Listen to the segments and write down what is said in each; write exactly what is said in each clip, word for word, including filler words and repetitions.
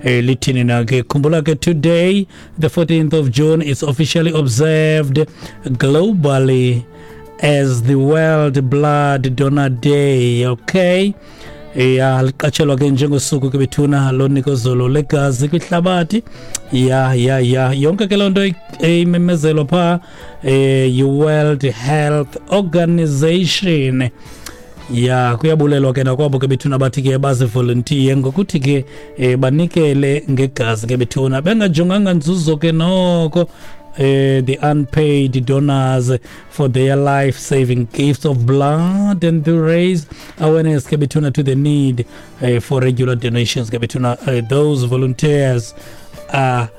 Eh, lithini na ke? Khumbula ke, today, the fourteenth of June, is officially observed globally as the World Blood Donor Day, okay? Ya, liqatshelwa ke njengosuku ke bethuna lonikezelo legazi kwihlabathi. Ya ya ya yonke ke loo nto imemezelwa phaa eh yi-World Health Organization. Ya, kuyabulelwa ke nakwabo ke bethuna bathi ke bazivolontiye ngokuthi ke eh, banikele ngegazi ke bethuna, bengajonganga nzuzo ke noko, eh, the unpaid donors for their life-saving gifts of blood and to raise awareness ke bethuna to the need eh, for regular donations ke bethuna. uh, those volunteers are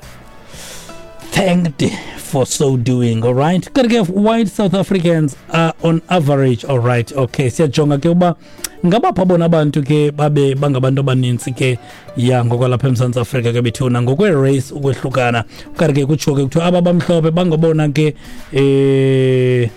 thanked for so doing. All right, kanti ke white South Africans are on average, all right, okay, siyajonga ke uba ngabapha bona abantu ke babe bangabantu abanintsi ke, ya, ngokwalapha eMzantsi Afrika ke bethuna, ngokwe-race ukwehlukana. Kanti ke kutshiwo ke kuthiwa aba bamhlophe bangobona ke eh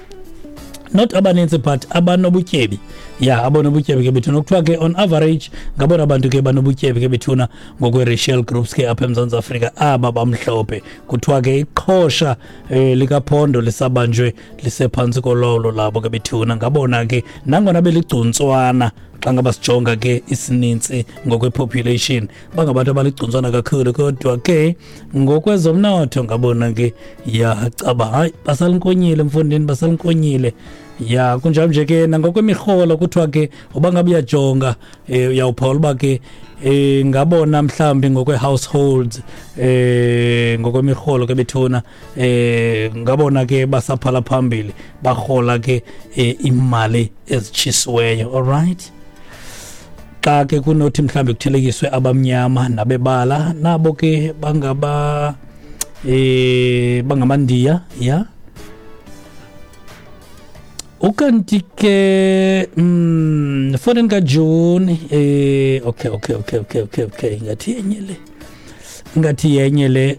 not abanintsi but abanobutyebi, ya, abanobutyebi ke bethuna. Kuthiwa ke on average ngabona bantu ke banobutyebi ke bethuna ngokwe-racial groups ke apha eMzantsi Afrika, aba bamhlophe. Kuthiwa ke iqhosha eh, likaphondo lisabanjwe lisephantsi kolawulo labo ke bethuna, ngabona ke, nangona beligcuntswana xa ngaba sijonga ke isinintsi ngokwe-population, bangabantu abaligcuntswana kakhulu, kodwa ke ngokwezomnotho ngabona ke, ya, caba hayi, basalinkonyile mfondini, basalinkonyile. Ya, kunjalo nje ke nangokwemirholo. Kuthiwa ke uba ngabe uyajonga, um uyawuphawula uba ke eh ngabona mhlambi ngokwe-households, eh ngokwemirholo ke bethuna, eh ngabona ke basaphala phambili, barhola ke eh, imali ezitshisiweyo. Alright, xa ke kunothi mhlambi kuthelekiswe abamnyama nabebala, nabo ke bangaba eh bangamandiya, ya. Ukanti ke mm fourteen kaJune, eh okay okay okay okay okay okay ngathi yenye le, ngathi yenye le.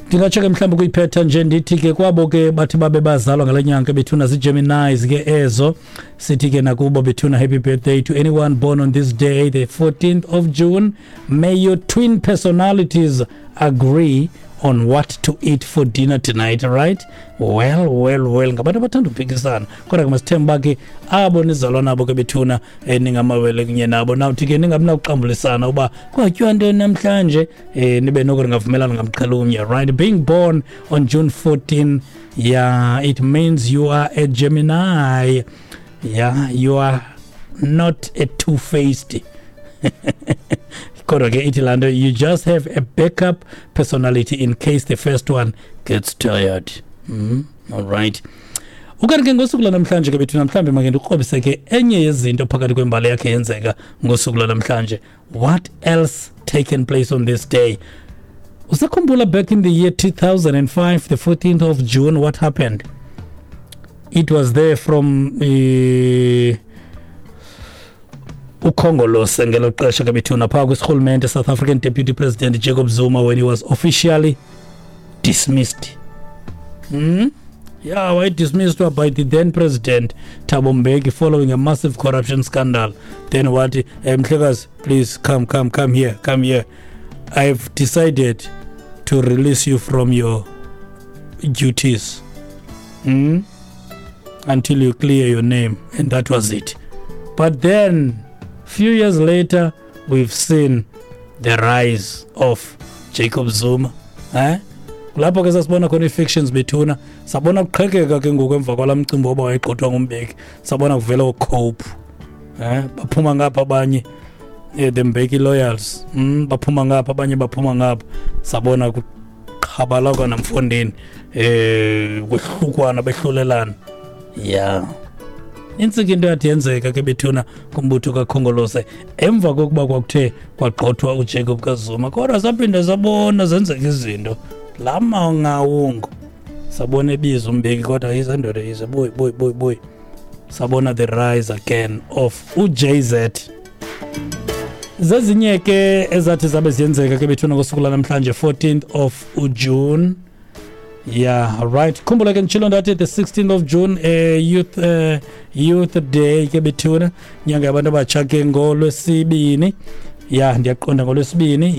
Ndingatsho ke mhlawumbi kuyiphetha nje, ndithi ke kwabo ke bathi babe bazalwa ngale nyanga bethuna, zii-Geminis ke ezo, sithi ke nakubo bethuna, happy birthday to anyone born on this day, the fourteenth of June. May your twin personalities agree on what to eat for dinner tonight. Right, well, well, well, ngabantu abathanda uphikisana, kodwa ke masithemba uba ke abo nizalwa nabo ke bethuna, um ningamawele kunye nabo, nawuthi ke ningabi nakuxambulisana uba kwatyiwa ntoni namhlanje, um nibe noko ningavumelana ngamxhelo umnye. Right, being born on June fourteen, yeah, it means you are a Gemini. Yeah, you are not a two-faced, kodwa ke ithi laa nto you just have a backup personality in case the first one gets tired. mm? all right, ukanti ke ngosuku lwanamhlanje ke bethuna, mhlawumbi make ndikrobise ke enye yezinto phakathi kwembali yakhe yenzeka ngosuku lwanamhlanje. What else taken place on this day? Usakhumbula back in the year two thousand five, the fourteenth of June, what happened? It was there from uh, uKhongolose ngelo xesha ke bethuna, phaa kwisirhulumente, South African Deputy President Jacob Zuma, when he was officially dismissed. hmm? Yeah, why dismissed by the then president Thabo Mbeki following a massive corruption scandal. Then what? eh, mhlekazi please come, come, come here, come here. I've decided to release you from your duties hmm? until you clear your name. And that was it. But then few years later, we've seen the rise of Jacob Zuma, eh kulapho ke sasibona khona ii-factions bethuna, sabona kuqhekeka ke ngoku emva kwalaa mcimbi woba wayegxothwa nguMbeki, sabona kuvela ooCope, eh baphuma ngapha abanye, eh, the Mbeki loyals, mm, baphuma ngapha abanye, baphuma ngapha, sabona kuqhabalakwa namfondini, eh kwehlukwana, behlulelana. Ya, intsika into yathi yenzeka ke bethuna kumbutho kaKhongolose emva kokuba kwakuthe kwagxothwa uJacob kaZuma, kodwa saphinda sabona zenzeka izinto la mangawungu, sabona ebiza uMbeki, kodwa yize ndoda, yize, boy, boy, boy, boy. Sabona the rise again of uJ Z. Zezinye ke ezathi zabe ziyenzeka ke bethuna ngosuku lanamhlanje, fourteenth of June. Yeah, right, khumbula ke nditshilo ndathi the sixteenth of June, eh, youth uh, youth Day ke bethuna, inyanga yabantu abatsha ke ngolwesibini. Ya, ndiyaqonda ngolwesibini.